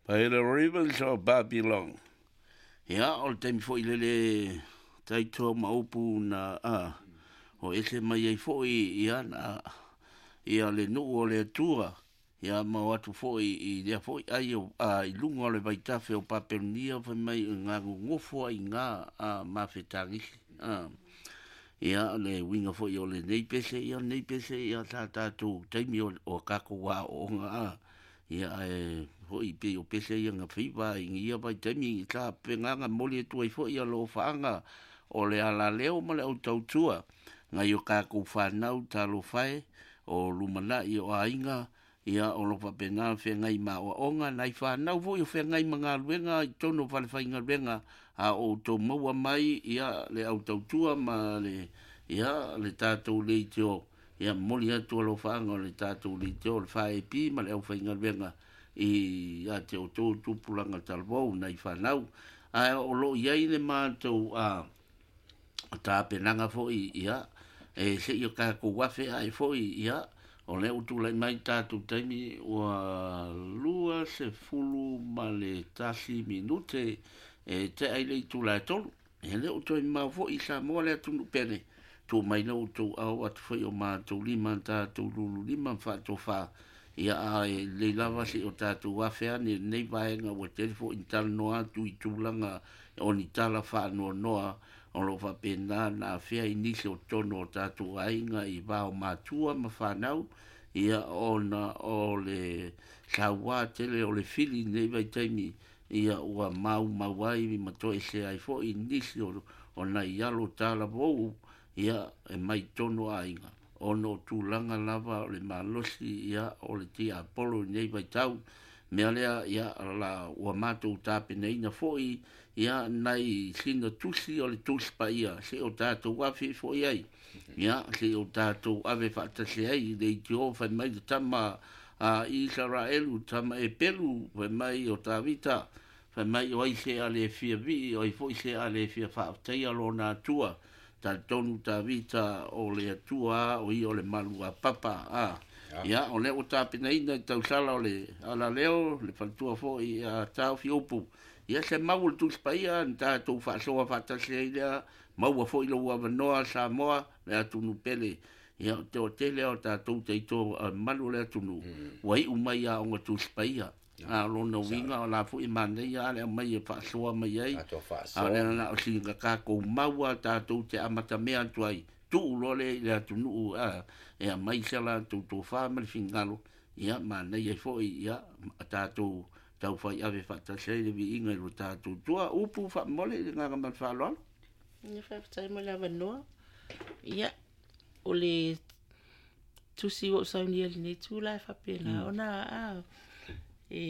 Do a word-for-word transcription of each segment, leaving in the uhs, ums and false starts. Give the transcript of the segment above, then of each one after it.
By the rivers of Babylon. Ia, o le taimi foi lele taitoa ma upu na a o ese mai ai foi ia na ia le nuu o le Atua ia ma o atu foi i lea foi ai o a i luga o le vaitafe o Papelonia fai mai i ngā gogofo ai ngā a mafetagisi a ia le uiga foi o lenei pese ia lenei pese ia sa tatou taimi o, o kākou aoaoga a ia ae foi pei o pese ia na feiva i ia vaitaimi sa pegaga moli atu ai foi ia alofaaga o le alaleo ma le autautua nai o kākou whanau talofa e o lumanai o aiga ia o lo faapena feagai ma aoaoga nai whanau foi o feagai ma galuega i totonu o falefaigaluega a o outou maua mai ia le autautua ma le ia le tatou leitio ia moli atu alofaaga o le tatou leitio o le F A P ma le aufaigaluega i ia te outou tupulaga talavou nai whanau ae o loo iai le matou a tapenaga foi ia e seia o kākou afe ae foi ia o lea ua tulai mai tatou taimi ua lua sefulu ma le tasi minute e tea i le itula e tolu e le o toe mamao foi i Samoa le atunuu pele tuu mai le outou ao atu foi o matou lima tatou lulu lima ma faatofā ia ae lelei lava seia o tatou afe ane lenei vaega ua tele foi ni talanoa atu i tulaga o ni tala faanoanoa o loo faapena na afea i nisi o totonu o tatou aiga i va o matua ma whanau ia ona o le sauā tele o le fili nei vaitaimi ia ua maumau ai ma toesea ai foi nisi o, o nai alo talavou ia e mai totonu o aiga ona o tulaga lava o le malosi ia o le tiapolo i nei vaitau mea lea ia la ua matou tapenaina foi ia nai sina tusi o le tusi paia se o tatou afe foi ai ia se o tatou ave faatasi ai i le leitio fai mai le tama a Isaraelu tama e pelu fai mai o Tavita fai mai o ai se a le fia vii o ai foi se a le fia faafetaia lona Atua talitonu Tavita o le Atua o ia o le malu a papa a ia o lea ua tapenaina i tausala o le alaleo le faletua foi a taofi upu ia se mau o le tusi paia na tatou faasoa faatasi ai lea maua foi lou avanoa Samoa le atunuu pele ia o te o tele o tatou teito malu o le atunuu ua iu mai aoga tusi paia a lona uiga o la foi manaia a le aumai e faasoa mai ai a o lea na o sina kākou maua tatou te amatamea atu ai tuu loa le i le atunuu a e aumai se latou tofā ma le finagalo ia manaia ai foi ia tatou taufai ave faatasi ai le viiga i lo tatou tua upu faamole i le agaga ma le faaaloalo. Ia faafetai mo le avanoa. Ia o le tusi ua ou saunia i lenei tula e faapena ona a e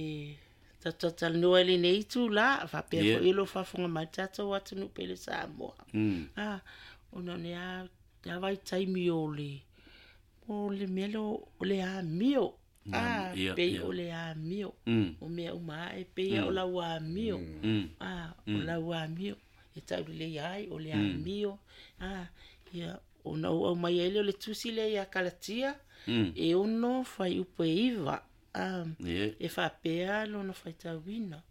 tatatalanoa i lenei tula faapea Yeah. foi o lo faafofoga mai le tatou atunuu pele Samoa. Mm. A ona o le a le a vaitaimi o le o le mea lea o le amio. A Ia, pei ia. o le amio. Mm. O mea uma ae pei o lau amio. Mm. A o lau amio e taulelei ai o le amio. A ia ona ou aumai ai lea o le tusi lea ia Kalatia Mm. e ono fuaiupu e iva. A Yeah. e faapea lona faitauina.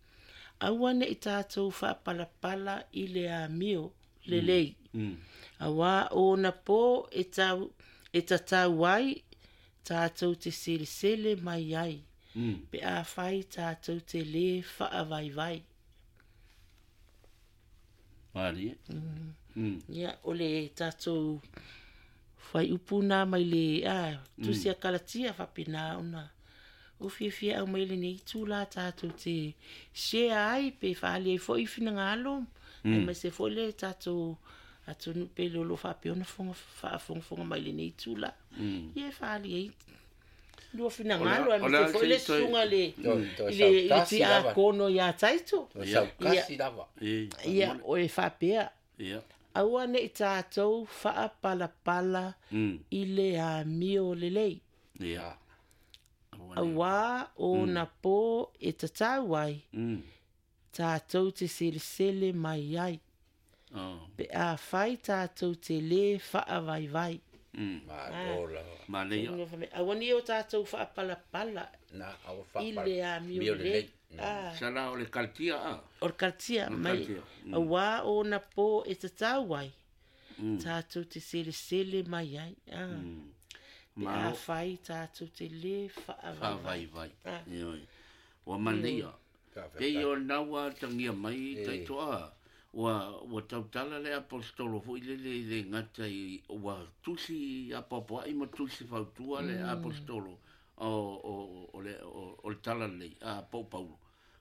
Aua nei tatou faapalapala i le amio lelei. Mm. Auā ona pō e tau e tatau ai tatou te selesele mai ai. Mm. Pe a fai tatou te lē faavaivai. Malie. Mm. Ia o le tatou fuaiupu na mai le a tusi a Kalatia faapena ona o fiafia aumai lenei itula tatou te share ai pe faaalia ai foi finagalo aemaise foi le tatou atunuu pele o lo faapea ona foga faafogafoga mai lenei itula. Ia e faaalia ai lua finagalo O le- o le aemaise foi le a se i toe- susuga le To- to i le i le saukasi lava. tiakono ia Taito. To saukasi lava. E, Ia o e faapea Ia. aua nei tatou faapalapala Mm. i le amio lelei. Ia. Aua nei. Auā ona pō e tatau ai Mm. tatou te selesele mai ai. Oh. Pe a fai tatou te lē faavaivai. Malo lava. Manaia. Aua ne i o tatou faapalapala Na aua i faapala. le amio Mio lelei. lelei. Ah. Sala o le Kalatia a. O le Kalatia O le mai Kalatia. auā ona pō e tatau ai tatou te selesele mai ai. Ah. Pe Malo. afai tatou te lē faavaivai. Faavaivai. Ah. Ioe. Ua manaia. Pei o naua tangia mai taitoa. Ua, ua tautala le apostolo foi lele i le gata i ua tusi apoapoai ma tusi fautua le apostolo o, o, o, le, o, o le tala lelei, a po o Paulo.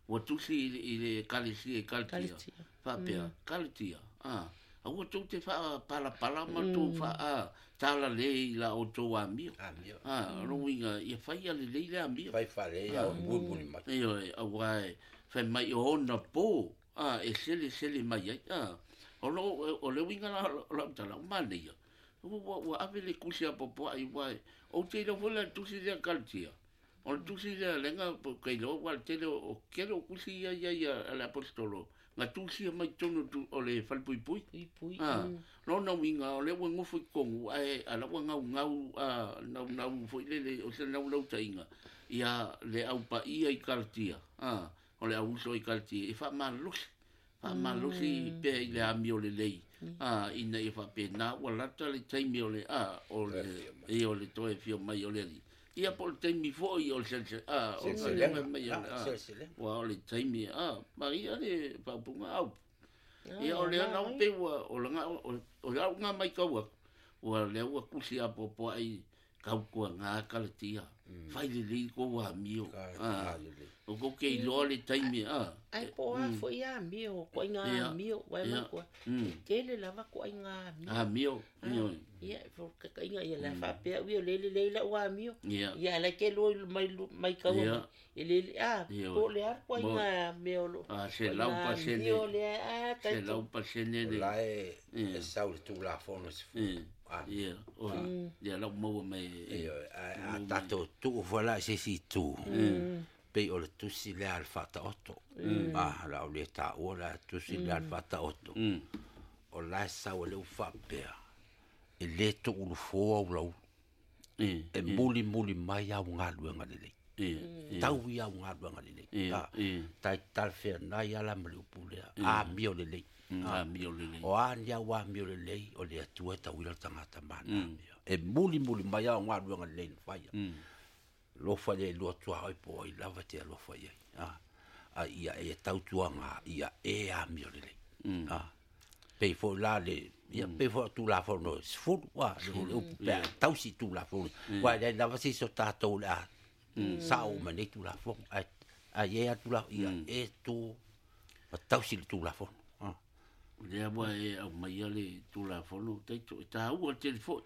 Ua tusi i, le- i le ekalesia i Kalatia. Kalatia. Faapea, Kalatia. A, aua tou te faapalapala ma tou faa tala le i la o tou amio. Amio. A, o le uiga, ia faia lelei le amio. Fai fale ia o mulimuli mai. Ioe, auā e fai mai o ona pō, a, e selesele mai ai. A, o lo, o le uiga la o lau tala, o manaia. Ua, ua, ua ave le kusi apoapoai, ua e, ou te iloa foi la le tusi lea Kalatia. O le tusi lea lenga, po kai loa, ua le tele o, o kele o kusi ia ia ia a le apostolo. Nga tusia mai tonu tu, o le falepuipui. Puipui. Ah, lona uiga o lea ua gofo i totonu ae ala ua gaugau a naunau foi lele o se naulautaiga ia le aupaia i Kalatia. Ah, o le auuso i Kalatia e faamalosi faamalosi pea i le amio lelei. Ah, ina ia faapena ua lata le taimi o le a o le ia o le toe fia mai o le alii. Ia po o le taimi foi o le selese a o le Seleselega. mai o le Ah, a seleselega. ua o le taimi a maria le faaupuga au. Ia o lea na pe ua o langa o o lau ngā mai kau aku. Ua lea ua kusi apoapoai kau kua ngā Kalatia. Fai lelei ko ua amio. Ka Ah, lelei. o ko ke iloa le taimi a. Ai po a foi amio, koaiga Ia. amio, uae Ia. makua. Mm. E tele lava koaiga amio. Amio. Ioe. Ia, fo kakaiga ia la faapea ui o le lelei lau amio. Ia. Ia ala ke lua mai mai kaua Ia. mai. E lele a Ia. po o le a koaiga mea o lo. A se lau Koaiga pasene. amio lea a Se taito. lau pasene O le. la e Ia. e sau le Tulafono se fu. Ia. Ah. Ia. O. Ia lau maua mai. Ioe, a a tatou tuu foi la i se isi itu. Pei o le tusi lea a le faataoto. Ah, la o le taua la tusi lea a le faataoto. Mm. O la e sau e le ufaapea. E lē tuulufoa ulaulu. Ia. E mulimuli mai au galuega lelei. Ia. Tau i au galuega lelei. Ia, Ah, ia. tai talafeanai ala ma le upu lea. Amio lelei. Amio lelei. O a ni au amio lelei, o le Atua e tauila le tagata mana amio. E mulimuli mai au galuega lelei na faia. Lofa le lua tua oi po i lava te alofa i ai. Ah, a ia e tautuaga ia e amio lelei. Ah, pei foi la le ia pei foi Tulafono sefulu a le le upu pea tausi Tulafono. Uae leai lava se isi o tatou o le a sao uma nei Tulafono ae ae ia tula ia e tu ma tausi le Tulafono. Ah. Lea ua e aumaia le Tulafono taito e tāua tele foi.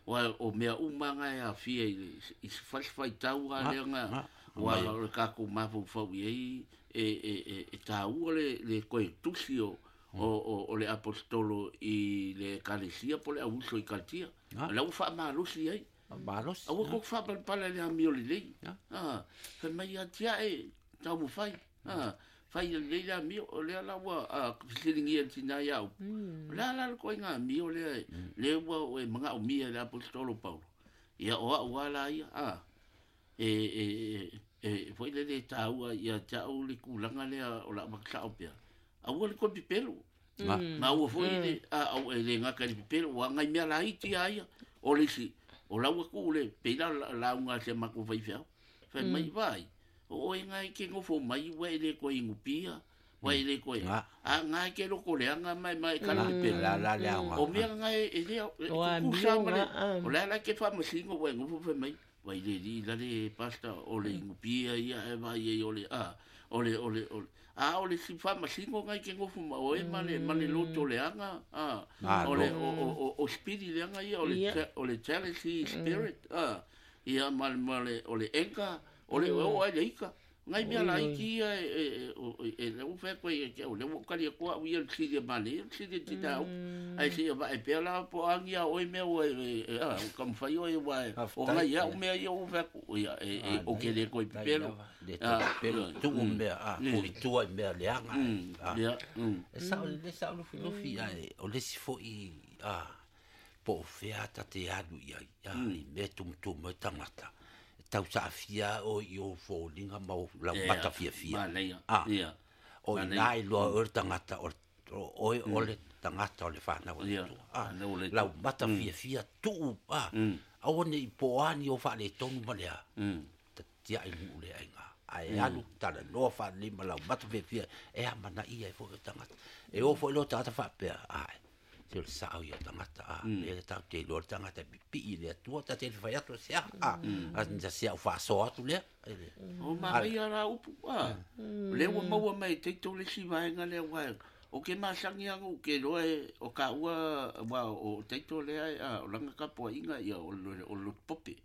Ua o mea uma nga e afia i le i se fasifaitau a lea nga ua o le kākou mafaufau i ai e e e e tāua le le koe tusi o o o, o le apostolo i le ekalesia po le auuso i Kalatia. La ua faamalosi ai. Malosi. Aua ko faapalapala i le amio lelei. Ah, fai mai ia tiae taumafai. Ah, fai lelei le amio o lea la ua ah, fesiligia le tinā iā upu. O le a la le koaiga amio lea lea ua e magaomia e le apostolo Paulo. Ia o au a la ia ah, e e e e foi lele e tāua ia te au le kulaga lea o la makasao pea. Aua le koe pepelo. Ma ua foi le a au e le gata i le pepelo ua agai mea laiti a ia. O le isi o lau aku le pei la lauga a se makou faifeau. Fai mai vai. O oe ngai ke gofo mai ua e le koe igupia. Ua e le koe. Nga. A ngai ke loko leaga mai mai kala pepelo. La la le aoga. O mea ngai e lea e O a kukusa mio ma le. nga, ah. O le ala ke faamasino ua e gofo fai mai. Vai le li la le pasta o le igupia ia e vai ai o le a o le o le o le a o le si faamasino ngai ke gofo ma oe ma le ma le loto leaga a Ah, o le no. o o o o spirit leaga ia o le Ia. o le jealousy spirit a ia ma le ma le o le enka o le o ai le ika ngai mea laiti ia e e e o e e le u fai koe e ke o le ua kali koa u ia le sili ma le le sili ti tau ai se va e pea la po angi a oi mea ua e e a o ka mwhai oi ua e o ngai ia o mea ia u fai ko ia e e o ke le koe pepelo Le pepelo tuu mea a foi tua i mea leaga. Ah. ia mm E sao le sao lufilufi ae o le isi foi a Po fea ta te alu i ai, i mea tumutumu e tangata. Tau saafia o i o fōlinga ma o lau mata fiafia. Ah, o i nai loa o le tangata o oe o le tangata o le whanau o le tua. Ah, lau mata fiafia tuu, ah, aua ne i poani o whaale tonu ma lea. Ta tia i nuu lea inga. Ai alu tala noa whaale ma lau mata fiafia e a mana ia e fo e tangata. E o fo i loa tangata whaapea, ai. Se o le sao i o tangata, a, le le tau te loa le tangata pipi i lea tua, ta te whai atu se a, a, a nita se au whaasoa atu lea. O maria rā upu, a, le ua maua mai te tau le si vaenga lea waenga. O ke masangi anga u ke loa e, o ka ua, wa, o teito lea, a, o langa kapoa inga, ia, o o pope,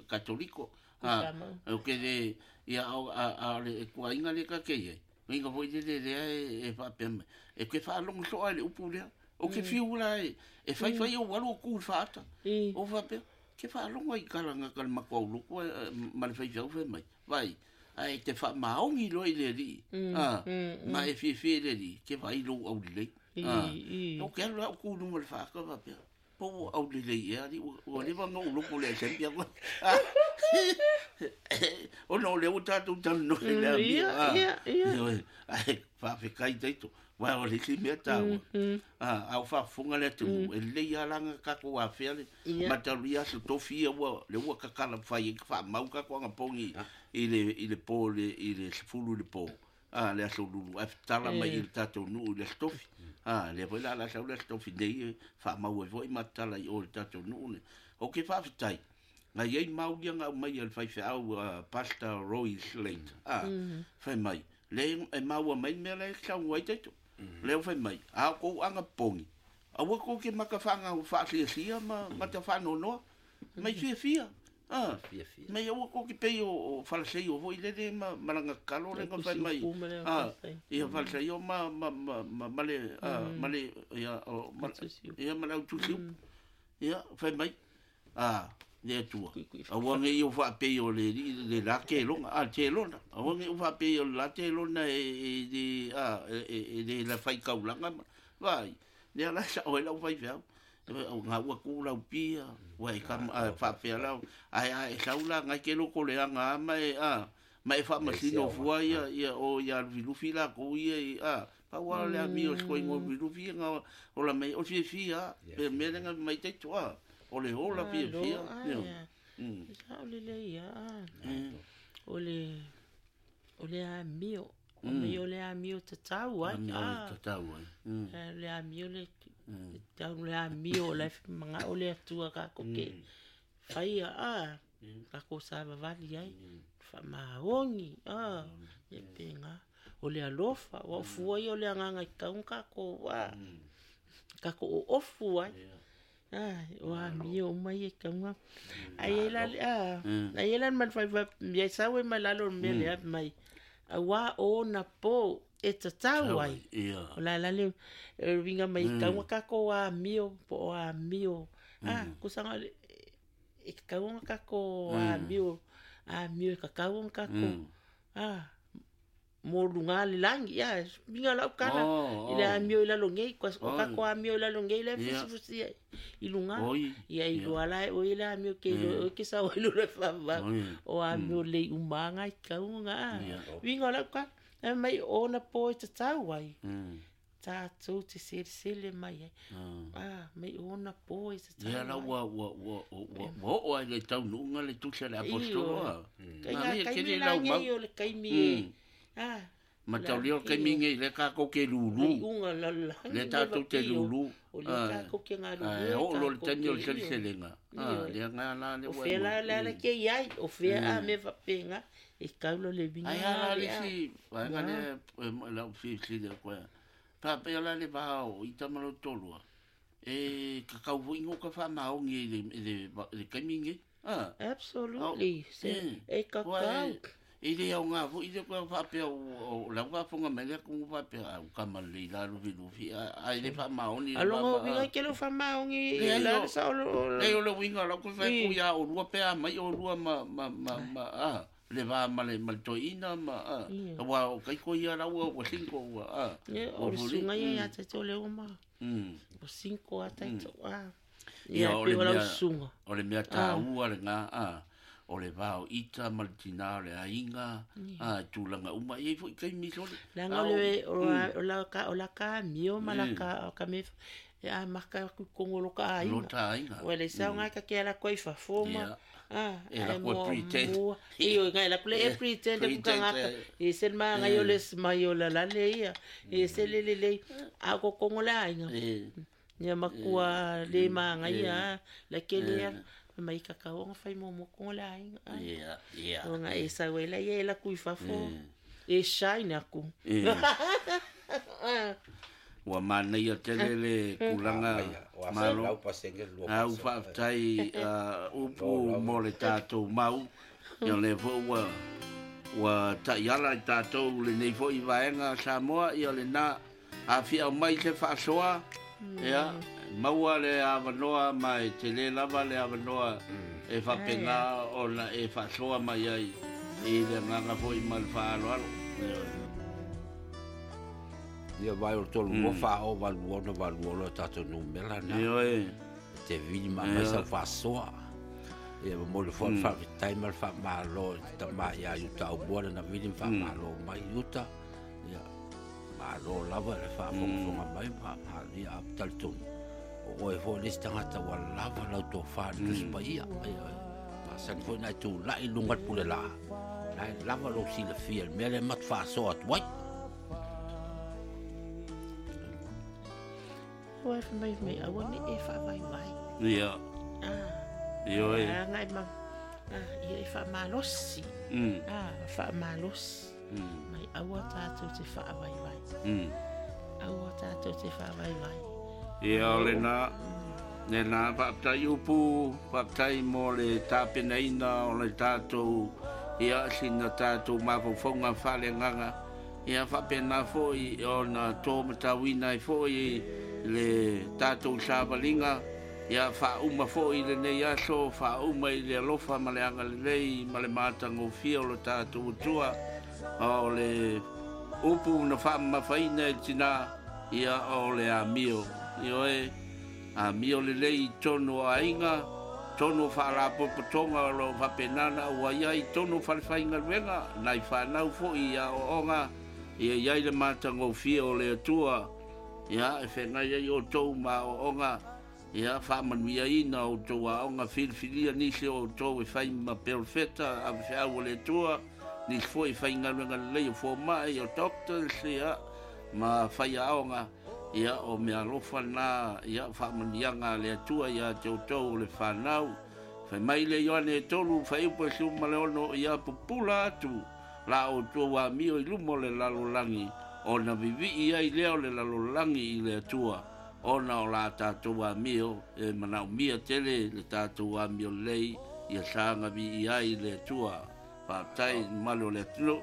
katoliko. A, o ke le, ia, a, a, le, kua inga le ka ke ia. Inga foi le lea e, e whaapea mai. E ke whaalongo soa le upu lea. O ke fiu la e, e whai whai o walu o kū whaata. O whapea, ke whaalonga i karanga ka le makoau loko ma le whai whai mai. Vai, ai te wha maongi loa i le ri. Ma e whiwhi le ri, ke whai lou au lelei. O ke alu au kū nunga le whaaka whapea. Po au lelei e ari, ua lewa ngau loko le asempia koe. O no le o tātou tanu no le a mia. Ia, ia. Ai, whawhekai teito. Wa o le mea tāua. Ah, au whaafunga le atu, e lei alanga kako a whea le, matalu ia so tofi ia ua, le ua kakala whai e wha mau kako anga pongi i le, i le pō, le, i le sefulu le pō. Ah, le aso lulu, a tala mai i le tātou nuu i le tofi. Ah, le voi la la sau le tofi nei, wha mau e voi matala i o le tātou nuu ne. O ke whaafetai, ngai ei maulia ngau mai al whai wheau Pastor Roy Slate. Ah, whai mai. Le e maua mai mea le sau ai teito. Leo whai mai, a kou anga pongi. Aua kou ke maka whanga whaasiasia ma, ma te whanonoa. Mai fiafia. Ah, mai aua kou ke pei o whalasei o voi lele ma malanga kalo lenga whai mai. Ah, ia whalasei o ma, ma, ma, ma, ma le, ah, ma le, ia, o, ma, ia, ma le au tusiu. Ia, whai mai. Ah, le atua. Aua nge i o whaapei o le, le la te longa, ah, te lona. Aua nge o whaapei o le la te lona e, e, e, ah, e, e, le la whai kaulanga. Vai, le ala sa oe lau whai whiau. O ngā ua kū lau pia, ua e kam, a, whaapea lau. Ai, ai, e sau la, ngai ke loko le anga ama e, ah, ma e whaamasino fua ia, ia, o ia lufilufi la kou ia, i, ah, paua le ami o skoe ngō lufilufi, ngā, o la mei, o fiafia, pe mea lenga mai teito, ah. O le hola fia fia. Sa o le le ia. O le o le amio. O me o le amio te tau ai. Amio te tau ai. Le amio le tau le amio le manga o le atua ka koke. Whai a ka ko sa vavali ai. Wha maongi a e penga. O le alofa o fua i o le anganga i kaunga ko wa. Ka ko o ofu ai. Ah, o amio mai e kaunga. Ai ela ah, ai ela man fai fa ia sawe mai lalo me le mai. Awa o na po e tatau ai. O la la le winga mai kaunga ka ko amio po amio. Ah, kusanga e kaunga ka ko amio, amio ka kaunga ka ko. Ah, mo lunga le langi ya minga la ukala ile amio ila longe ko ka ko amio ila longe ile fusi fusi ilunga ia iluala o ile amio ke o ke sa o le fa va o amio le umanga kaunga winga la ukala mai ona po te tau ai tātou te sele mai ai. Ah, mai ona po te tau. Ia la ua ua ua ua ua o ai le tau nunga le tusa le apostolo a. Kai kai mi la ngai o le kai mi. Ah, ma tau leo kai mi ngai le ka ko ke lulu. Le tātou te lulu. O le ka ko ke ngā lulu. O lo le tani o le seleselenga. Ah, le ngā la le ua. O fea la la ke iai, o fea a me wapenga. E kaulo le vinga. Ai ala le si, ai ngā le la fi si le koe. Pā la le vāo i tamalo tolua. E ka kau voi ngō ka whamaongi i le, le, le kaimingi. Ah. Absolutely. E ka kau. E le au ngā voi le koe whapea o lau whafonga mai lea kungu whapea au kamale i la lufi lufi. Ai le whamaongi. Alonga winga ke le whamaongi i la sa o le. Le o le winga lau koe whai kuia o lua pea mai o lua ma, ma, ma, ma, ah. Le vā ma le ma le toina ma a wa o kai ko ia raua o cinco ua a o le sunga ia ia te tole o ma o cinco a taito a Ia o le pe o lau mea susuga. O le mea taua lena a o le vao ita ma le tinā o le aiga a tulaga uma e i ai foi taimi sole. Leaga o le o la ka o la ka amio ma la ka ka me e a maka aku kongo lo ka aiga. Lo ta aiga. Ua le sau ngai ka ke ala koi fafo ma. Ah, E la kua pretend. Iyo ngai la kule e pretend ku ka ngaka. E se ma ngai o le mai o la la le ia. E se le le le a ko kongo la aiga. Ia makua le ma ngai ia la ke le ia. Mai ka ka o fai mo mo kongo la aiga. Ia, ia. O ngai e sa wela ia la kui fafo. E shine aku. Ua manaia tele le kulaga malo. Au faafetai upu mo le tatou mau. Ia le foi ua ua taiala i tatou lenei foi vaega Samoa ia lena afiau mai se faasoa. Ia maua le avanoa ma e tele lava le avanoa e faapena ona e faasoa mai ai i le agaga foi ma le faaaloalo. Ia vai o tolu mo fa o valu ona valu o tatou numera na. Ia e. Te vili ma mai sa faasoa. Ia mo le fo fa tai ma fa malo ta ma ia uta o bora na vili fa malo mai uta. Ia malo lava le fa fo fo mai ma ia tal tu. O e fo le tangata wa lava la to fa tu spa ia. Ia ma san fo na tu la ilunga pule la. La lava lo si le fiel mele mat fa so at wai. Ua e mai mai aua ne e whaavaivai. Ia. Ah. Ia e. Ah, ngai ma. Ah, ia e whaamalosi. Mm. Ah, whaamalosi. Mm. Mai aua tātou te whaavaivai. Mm. Aua tātou te whaavaivai. Ia o le nā, le nā whaaptai upu, whaaptai mo le tāpenaina o le tātou, ia sina tātou mafaufonga whale nganga. Ia whapena foi o na tō matawina i foi le tātou sāvalinga, ia whauma foi le nei aso, whauma i le alofa ma le angalelei, ma le mātangofia o le tātou atua, o le upu na whaamafaina e tina, ia o le amio. Ia e, amio le lei tonu a inga, tonu whaalapopotonga o lo whapenana ua ia i tonu whalewhainga luenga, nai whanau foi ia o onga, ia iai le mātangofia o le atua, ia e whengai ai o tau ma o onga, ia whaamanuia ina o tau a onga filfilia nisi o tau e whai ma perofeta a whiau o le atua, nisi foi whai ngaluenga lelei o fōmai o doctors, ia ma whai a onga, ia o mea alofa nā, ia whaamanuianga le atua ia te o tau o le whanau. Whai mai le Ioane e tolu, whai upo e suma le ono, ia pupula atu, la o tua amio i lumo le lalolangi, o na vivi ai leo le lalolangi i le atua, ona o la tātou amio, e manau mia tele le tātou amio lei, ia sānga vi i ai le atua. Whaatai malo le atuno.